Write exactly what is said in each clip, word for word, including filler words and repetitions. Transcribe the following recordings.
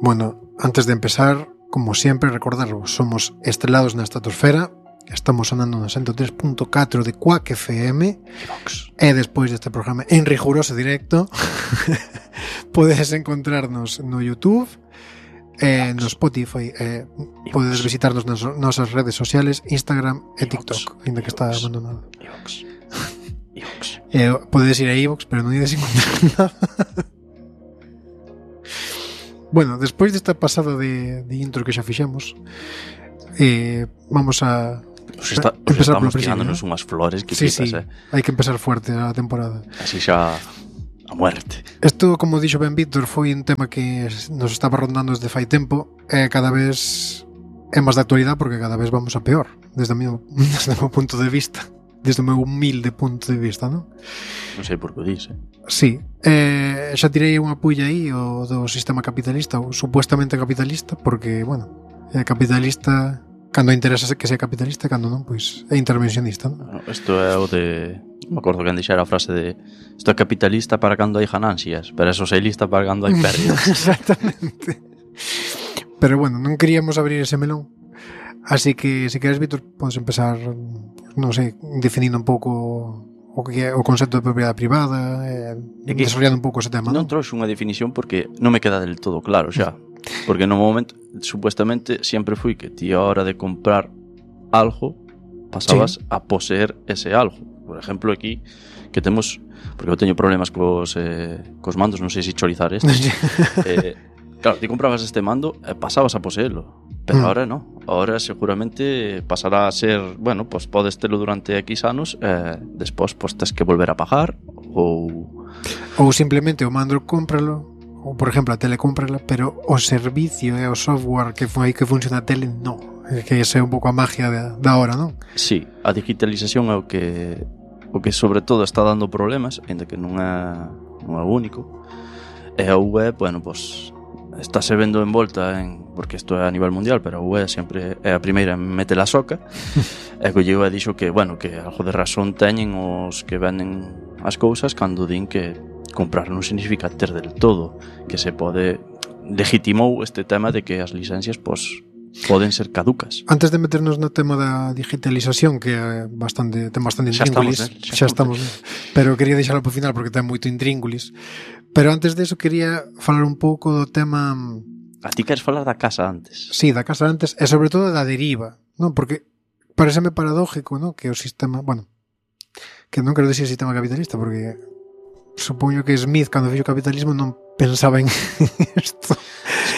Bueno, antes de empezar, como siempre, recordaros, somos Estrelados na Estratosfera, estamos sonando no ciento tres punto catro de Quack F M, e despois deste programa en riguroso directo podes encontrarnos no YouTube, eh, no Spotify, eh, podes visitarnos nas nosas redes sociales, Instagram e TikTok, ainda que está abandonado. Eh, podes ir a iVoox, pero non ides encontrar nada. Bueno, despois desta pasada de, de intro que xa fixemos, eh, vamos a Nos está, nos estamos tirándonos unhas flores que sí, quitas, sí, eh. hai que empezar fuerte a temporada. Así xa a muerte. Isto, como dixo ben Víctor, foi un tema que nos estaba rondando desde fai tempo e cada vez é máis de actualidade porque cada vez vamos a peor, desde o meu, desde o meu punto de vista, desde o meu humilde punto de vista, non? Non sei por que o dis, eh. Sí, eh, xa tirei unha pulla aí o do sistema capitalista, ou supuestamente capitalista, porque, bueno, é capitalista cando interesa que sea capitalista, cando non, pois é intervencionista, non? Isto é o de... Me acordo que dixera a frase de isto é capitalista para cando hai ganancias, pero é socialista para cando hai pérdidas. Exactamente. Pero bueno, non queríamos abrir ese melón, así que, se queres, Víctor, podes empezar, non sei, definindo un pouco o que é o concepto de propiedade privada, eh, desarrollando un pouco ese tema, non? Non trouxe unha definición porque non me queda del todo claro xa. Porque no momento, supuestamente, sempre fui que ti a hora de comprar algo pasabas sí. a poseer ese algo. Por exemplo, aquí que temos, porque eu teño problemas cos, eh, cos mandos, non sei se chorizar este. eh, claro, ti comprabas este mando e pasabas a poseelo. Pero mm. ahora no. Ahora seguramente pasará a ser, bueno, pues podes telo durante X anos e eh, despois pues tes que volver a pagar ou ou simplemente o mando cómpralo. Ou, por exemplo, a tele cómprala, pero o servicio e o software que foi que funciona a tele, non. É que esa é un pouco a magia da, da hora, non? Sí, a digitalización é o que o que sobre todo está dando problemas, ainda que non é, non é o único. E a U E, bueno, pues estáse vendo envolta en, porque isto é a nivel mundial, pero a U E sempre é a primeira en mete la soca. E que o E dixo que, bueno, que algo de razón teñen os que venden as cousas cando din que comprar non significa ter del todo, que se pode legitimou este tema de que as licencias pois poden ser caducas. Antes de meternos no tema da digitalización, que é bastante, ten bastante intríngulis, xa estamos, xa estamos, pero quería deixalo por final porque ten moito intríngulis. Pero antes de eso quería falar un pouco do tema. A ti queres falar da casa antes? Sí, da casa antes e sobre todo da deriva, non? Porque pareceme paradójico, non? Que o sistema, bueno, que non quero dicir sistema capitalista porque supoño que Smith, cando fixo capitalismo, non pensaba en isto.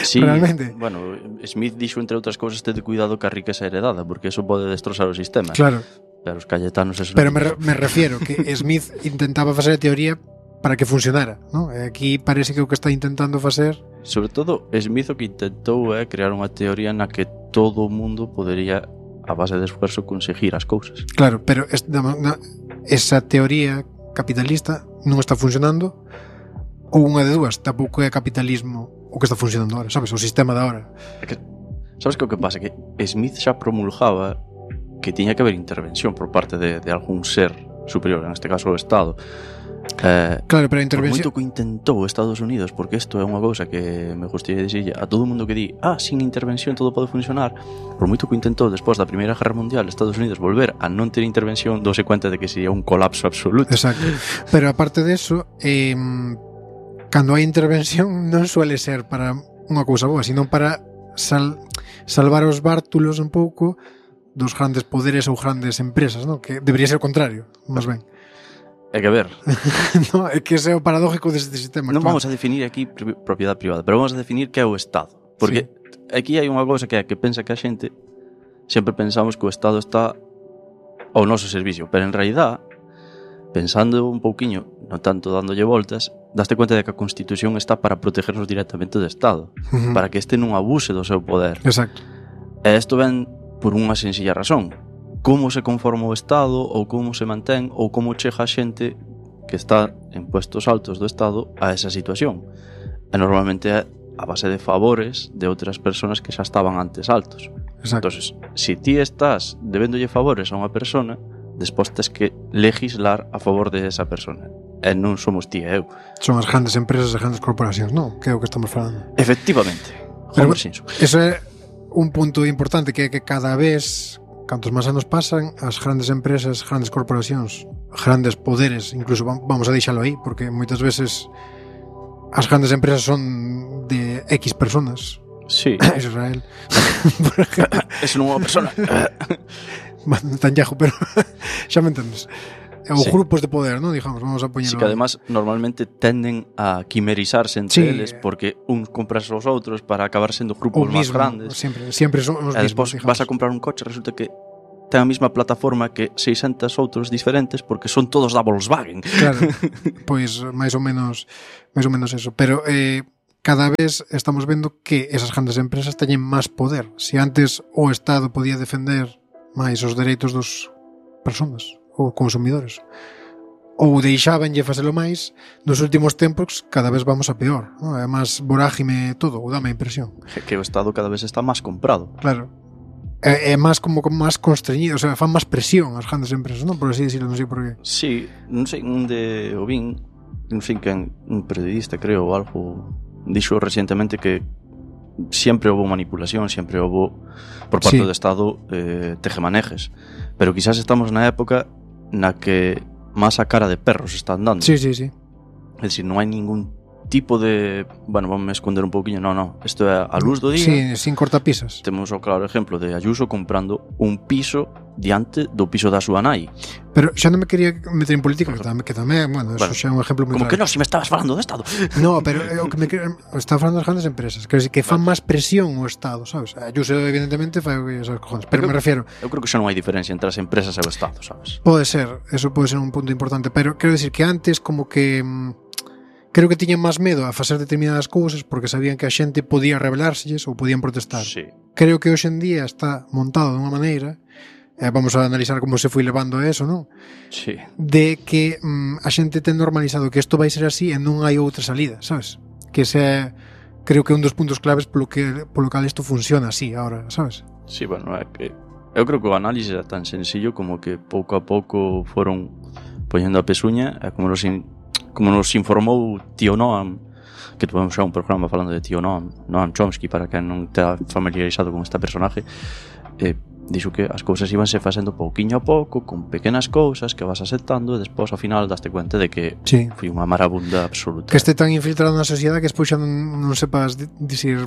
Sí, realmente. Bueno, Smith dixo, entre outras cousas, tede cuidado ca riqueza heredada, porque eso pode destrozar o sistema. Claro. Pero os cayetanos... Eso Pero me, re, me refiero que Smith intentaba facer a teoría para que funcionara, ¿no? Aquí parece que o que está intentando facer... Sobre todo, Smith o que intentou é crear unha teoría na que todo o mundo podería, a base de esfuerzo, conseguir as cousas. Claro, pero es, na, esa teoría capitalista non está funcionando, ou unha de dúas, tampouco é capitalismo o que está funcionando ahora, sabes? O sistema da hora. É que, sabes que o que pasa? Que Smith xa promulgaba que tiña que haber intervención por parte de, de algún ser superior, en este caso o Estado. Eh, claro, pero a intervención... Por moito que intentou Estados Unidos, porque isto é unha cousa que me gustaría dicirlle a todo o mundo que di, ah, sin intervención todo pode funcionar. Por moito que intentou despois da Primeira Guerra Mundial Estados Unidos volver a non ter intervención, douse cuenta de que sería un colapso absoluto. Exacto. Pero aparte de eso, eh, cando hai intervención non suele ser para unha cousa boa, sino para sal, salvar os bártulos un pouco dos grandes poderes ou grandes empresas, ¿no? Que debería ser o contrario, máis ben. É que ver. No, é que ese é o paradójico deste sistema. Non vamos a definir aquí propiedade privada, pero vamos a definir que é o Estado. Porque sí. Aquí hai unha cousa que é que pensa que a xente sempre pensamos que o Estado está ao noso servicio, pero en realidad, pensando un pouquiño, non tanto dándolle voltas, daste cuenta de que a Constitución está para protegernos directamente do Estado, uh-huh. para que este non abuse do seu poder. Exacto. E isto ven por unha sencilla razón. Como se conforma o Estado, ou como se mantén, ou como chega a xente que está en puestos altos do Estado a esa situación. E normalmente é a base de favores de outras persoas que xa estaban antes altos. Exacto. Entonces, si ti estás debéndolle favores a unha persona, despois tes que legislar a favor de esa persona. E non somos ti e eu. Son as grandes empresas e grandes corporacións, non? Que é o que estamos falando. Efectivamente. Homer Simpson. Eso é un punto importante, que é que cada vez, cantos máis anos pasan, as grandes empresas, grandes corporacións, grandes poderes, incluso vamos a deixalo aí, porque moitas veces as grandes empresas son de X personas. Sí. Israel. Es non é unha persona. Netanyahu, pero xa me entendes. Ou Sí. grupos de poder, ¿no? Digamos, vamos a poñelo. Sí, que además normalmente tenden a quimerizarse entre Sí. eles porque uns compras aos outros para acabar sendo grupos O máis mismo, grandes. Siempre, siempre son os E mismos, despois digamos. vas a comprar un coche, resulta que ten a mesma plataforma que seiscentos outros diferentes porque son todos da Volkswagen. Claro, pois máis ou menos máis ou menos eso, pero eh, cada vez estamos vendo que esas grandes empresas teñen máis poder. Se antes o Estado podía defender máis os dereitos dos persoas ou consumidores, ou deixábanlle facelo máis, nos últimos tempos cada vez vamos a peor, ¿no? É máis vorágime todo, ou dame a impresión. Que o Estado cada vez está máis comprado. Claro. É, é máis como, como máis constreñido, o sea, fan máis presión as grandes empresas, non? Por así decirlo, non sei por qué. Sí, non sei onde o vin, non sei quen, un periodista, creo, ou algo, dixo recientemente que siempre houve manipulación, siempre houve por parte Sí. do Estado eh, tejemanejes, pero quizás estamos na época na que máis a cara de perros están dando. Sí, sí, sí. É dicir, non hai ningún tipo de... Bueno, vamos a esconder un pouquiño. No, no, isto é a luz do día. Sí, sin cortapisas. Temos o claro exemplo de Ayuso comprando un piso diante do piso da súa nai. Pero xa non me quería meter en política, que tamén, que tamén bueno, eso Bueno, xa é un exemplo moi Como claro. que non, se me estabas falando do Estado. No, pero é o que me quería, está falando das grandes empresas, quero dicir que fan máis presión o Estado, sabes? Ayuso evidentemente fai o que esas cojones, pero Eu me refiero, Eu creo que xa non hai diferencia entre as empresas e o Estado, sabes? pode ser, eso pode ser un punto importante, pero quero dicir que antes como que mm, creo que tiñan máis medo a facer determinadas cousas porque sabían que a xente podía rebelárselles ou podían protestar. Sí. Creo que hoxe en día está montado de unha maneira, eh, vamos a analizar como se foi levando a eso, non? Sí. De que mm, a xente ten normalizado que isto vai ser así e non hai outra salida, sabes? Que ese creo que é un dos puntos claves polo que polo cal isto funciona así ahora, sabes? Sí, bueno, é que eu creo que o análise é tan sencillo como que pouco a pouco foron poñendo a pesuña, e como nos, in, como nos informou Tío Noam, que tuvemos xa un programa falando de Tío Noam, Noam Chomsky, para quen non está familiarizado con este personaje, eh, dixo que as cousas íbanse facendo pouquiño a pouco, con pequenas cousas que vas aceptando, e despois ao final daste cuenta de que Sí. foi unha marabunda absoluta. Que este tan infiltrado na sociedade que despois xa non, non sepas di- dicir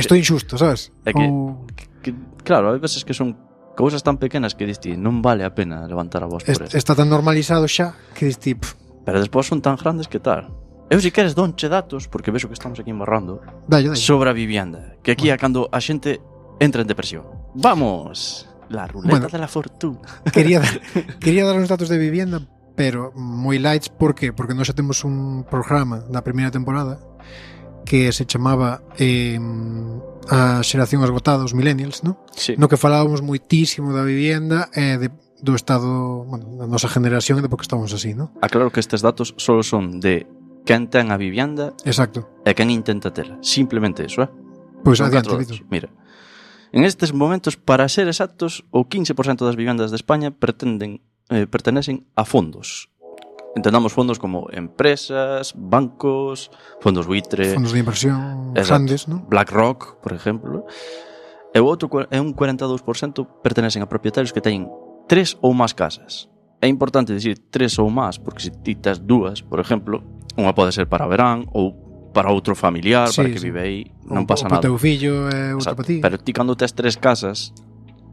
isto é injusto, sabes? É que- Ou que, claro, hai veces que son cousas tan pequenas que diste, non vale a pena levantar a voz por est- eso. está tan normalizado xa que dis ti, pff, Pero despois son tan grandes que tal. Eu si queres donche datos, porque vexo que estamos aquí embarrando, dalle, dalle. sobre a vivienda, que aquí é cando a xente entra en depresión. Vamos, la ruleta Bueno. de la fortuna. Quería dar, quería dar uns datos de vivienda, pero moi lights, por qué? Porque nós xa temos un programa na primeira temporada que se chamaba eh, a xeración esgotada, os millennials, ¿no? Sí. No que falábamos moitísimo da vivienda e de, do estado, bueno, da nosa generación e de por que estamos así, ¿no? Aclaro que estes datos solo son de quen ten a vivienda Exacto. e quen intenta tela. Simplemente eso, eh? Pois Son adiante, catro Víctor. datos. Mira, en estes momentos, para ser exactos, o quince por cento das vivendas de España pretenden, eh, pertenecen a fondos. Entendamos fondos como empresas, bancos, fondos buitre, Fondos de inversión Exacto. grandes, ¿no? BlackRock, por exemplo. E o outro cua- e un cuarenta e dous por cento pertenecen a propietarios que teñen tres ou máis casas. É importante dicir tres ou máis, porque se ti tes dúas, por exemplo, unha pode ser para verán ou para outro familiar, Sí, para que sí. vive aí, non O- pasa o pa nada. teu fillo e outro Exacto. para ti. Pero ti cando tes tres casas,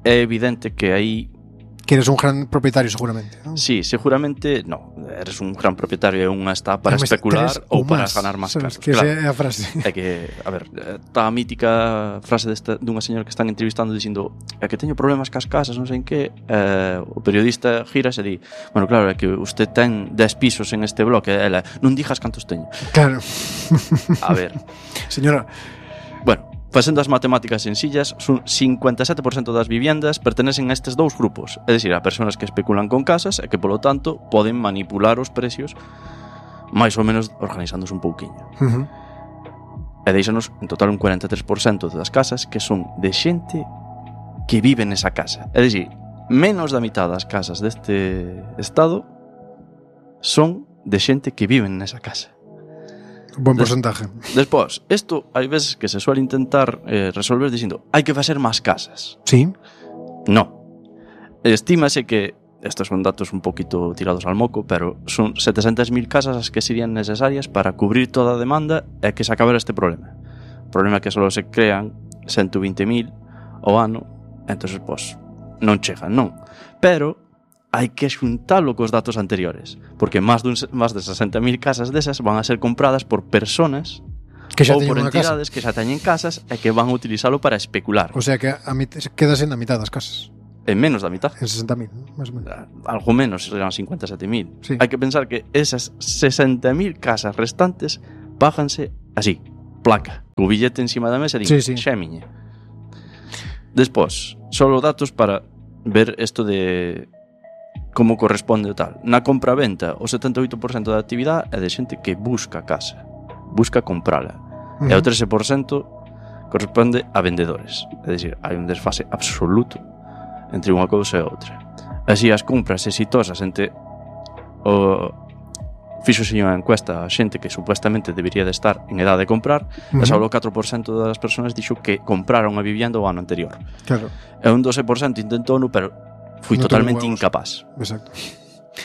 é evidente que aí, Que eres un gran propietario seguramente, ¿no? sí, seguramente, no, eres un gran propietario e unha está para Ademais, especular tres ou para más, ganar máis sabes? cartos. Que Claro. esa é a frase. É que, a ver, está a mítica frase desta, dunha señora que están entrevistando dicindo é que teño problemas cas casas, non sei en que, eh, o periodista gira e di, bueno, claro, é que usted ten dez pisos en este bloque, ela, non dijas cantos teño. Claro. A ver, Señora, bueno, facendo as matemáticas sencillas, son cincuenta e sete por cento das viviendas pertenecen a estes dous grupos, é dicir, a persoas que especulan con casas e que, polo tanto, poden manipular os precios máis ou menos organizándose un pouquiño. uh-huh. E deixanos en total un cuarenta e tres por cento das casas que son de xente que vive nesa casa. É dicir, menos da mitad das casas deste estado son de xente que vive nesa casa. Buen porcentaje. Despois, isto hai veces que se suele intentar eh, resolver dicindo hai que facer máis casas. Sí. No. Estímase que, estos son datos un poquito tirados al moco, pero son setecentas mil casas as que serían necesarias para cubrir toda a demanda e que se acabara este problema. O problema é que só se crean ciento veinte mil ao ano, entonces, pois, non chegan, non. Pero hai que xuntalo cos datos anteriores, porque máis de, un, máis de sesenta mil casas desas van a ser compradas por personas que xa ou por teñen unha casa. entidades que xa teñen casas e que van a utilizalo para especular. O sea que a mit quedas en a mitad das casas. En menos da mitad. En sesenta mil, máis ou menos. Algo menos, serán cincuenta e sete mil. Sí. Hai que pensar que esas sesenta mil casas restantes páganse así, placa, co billete encima da mesa e din, sí, sí. xa é miña. Despois, solo datos para ver isto de como corresponde o tal. Na compra-venta, o setenta e oito por cento da actividade é de xente que busca casa, busca comprala. Uh-huh. E o trece por cento corresponde a vendedores. É dicir, hai un desfase absoluto entre unha cousa e outra. Así, as compras exitosas entre o fixose unha encuesta a xente que supuestamente debería de estar en edad de comprar, uh-huh. e só o catro por cento das persoas dixo que compraron a vivienda o ano anterior. Claro. E un doce por cento intentou-no, pero foi no totalmente incapaz. Exacto.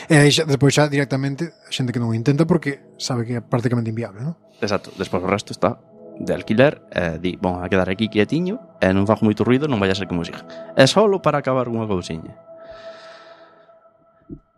E aí xa, despois xa directamente a xente que non o intenta porque sabe que é prácticamente inviable, non? Exacto. Despois o resto está de alquiler e di, bon, a quedar aquí quietiño e non fago moito ruido, non vai a ser que música. É solo para acabar unha cousiña.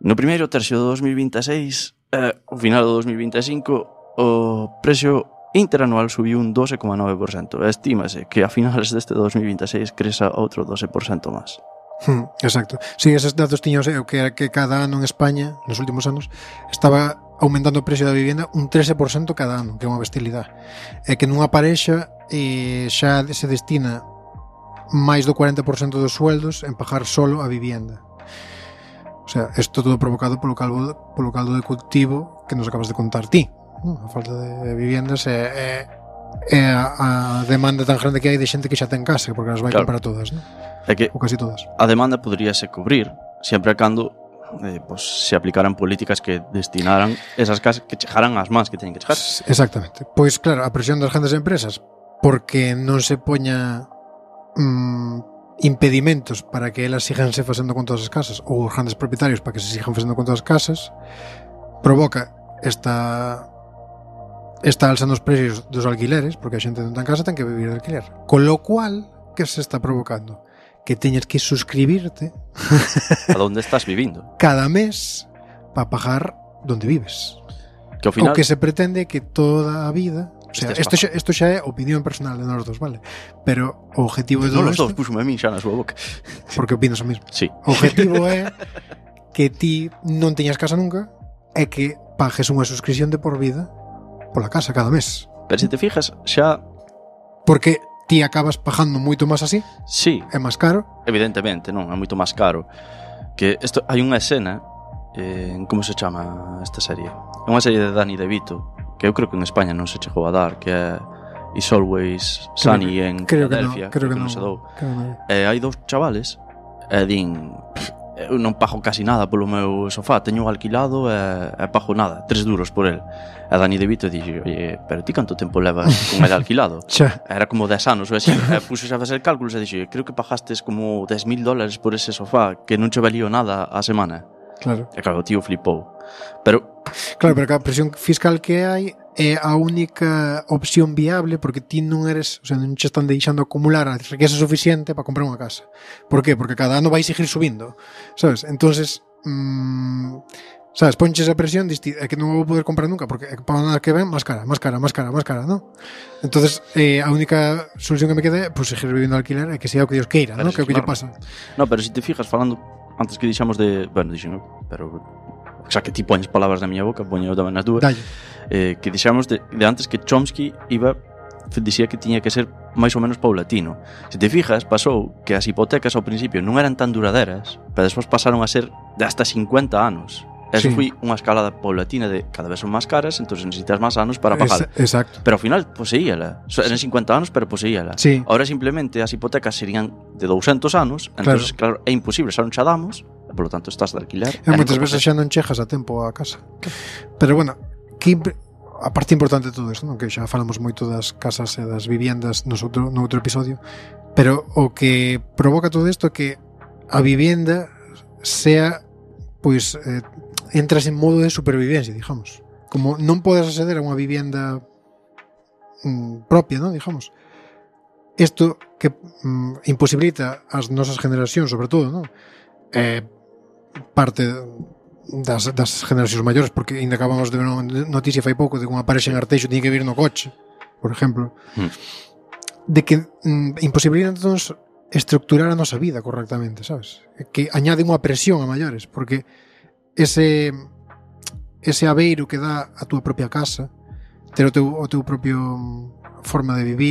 No primeiro tercio do dos mil vinte e seis e ao final do dos mil vinte e cinco o precio interanual subiu un doce coma nove por cento. Estímase que a finales deste dos mil vinte e seis creza outro doce por cento máis. Hmm, exacto. Sí, esos datos tiños eu que era que cada ano en España, nos últimos anos, estaba aumentando o precio da vivienda un trece por cento cada ano, que é unha bestialidade. É que nunha parexa eh, xa se destina máis do cuarenta por cento dos sueldos en pagar solo a vivienda. O sea, isto todo provocado polo caldo, polo caldo de cultivo que nos acabas de contar ti, ¿no? A falta de viviendas e, e, e a, a demanda tan grande que hai de xente que xa ten casa, porque as vai claro. comprar todas, ¿no? É que ou casi todas. A demanda poderíase cubrir sempre e cando eh, pues, se aplicaran políticas que destinaran esas casas que chegaran ás mans que teñen que chegar. Exactamente. Pois claro, a presión das grandes empresas porque non se poña mmm, impedimentos para que elas siganse facendo con todas as casas ou os grandes propietarios para que se sigan facendo con todas as casas provoca esta esta alza nos precios dos alquileres porque a xente non ten casa ten que vivir de alquiler. Con lo cual, que se está provocando? Que teñes que suscribirte a donde estás vivindo cada mes para pagar donde vives. Que ao final o que se pretende que toda a vida, o sea, isto xa, isto xa é opinión personal de nós dos, vale? Pero o objetivo de todo todo isto isto, puxome a min xa na súa boca porque opinas o mismo. Sí. O objetivo é que ti non teñas casa nunca e que pagues unha suscripción de por vida pola casa cada mes. Pero se te fijas, xa porque ti acabas pagando moito máis así. Sí. É máis caro. Evidentemente, non, é moito máis caro. Que isto hai unha escena, eh, como se chama esta serie? É unha serie de Danny DeVito, que eu creo que en España non se chegou a dar, que é It's Always Sunny creo, en creo Philadelphia, que no, creo que, que non se dou. No. E hai dous chavales e din, eu non pago casi nada polo meu sofá, teño alquilado e, e pago nada, tres duros por el. E Danny DeVito dixe, oye, pero ti canto tempo levas con el alquilado? Era como dez anos ou así. E puxo xa a facer cálculos e dixe, creo que pagastes como dez mil dólares por ese sofá, que non che valío nada a semana. Claro. E claro, o tío flipou. Pero claro, pero a presión fiscal que hai é a única opción viable porque ti non eres, o sea, non che están deixando acumular a riqueza suficiente para comprar unha casa. Por qué? Porque cada ano vai seguir subindo, sabes? Entonces, mmm, sabes, ponches a presión diste, é que non vou poder comprar nunca porque para nada que ven, máis cara, máis cara, máis cara, máis cara, ¿no? Entonces, eh, a única solución que me queda é pues, seguir vivindo alquiler e que sea o que Dios queira, ¿no? Que é o que lle pasa. No, pero se si te fijas, falando antes que dixamos de, bueno, dixen, pero xa que ti poñes palabras na miña boca, poño tamén nas dúas. Eh, que dixamos de, de antes que Chomsky iba dicía que tiña que ser máis ou menos paulatino. Se te fijas, pasou que as hipotecas ao principio non eran tan duraderas, pero despois pasaron a ser de hasta cincuenta anos. Eso sí. Foi unha escalada paulatina de cada vez son máis caras, entonces necesitas máis anos para pagar. Es, exacto. Pero ao final poseíala. Eran cincuenta anos, pero poseíala. Sí. Ahora simplemente as hipotecas serían de doscientos anos, entonces claro, claro é imposible, xa non xa damos, e por lo tanto estás de alquiler. E moitas veces xa non chegas a tempo a casa. Pero bueno, que a parte importante de todo isto, non? Que xa falamos moito das casas e das viviendas nos outro, no outro episodio, pero o que provoca todo isto é que a vivienda sea, pois, eh, entras en modo de supervivencia, digamos. Como non podes acceder a unha vivienda mm, propia, non? Digamos. Isto que mm, imposibilita as nosas generacións, sobre todo, non? Eh, parte das, das generacións maiores, porque ainda acabamos de ver unha noticia fai pouco de que unha parexa en Arteixo tiña que vir no coche, por exemplo, mm. de que mm, imposibilita entonces estructurar a nosa vida correctamente, sabes? Que añade unha presión a maiores, porque ese ese abeiro que dá a túa propia casa, ter o teu, o teu propio forma de vivir,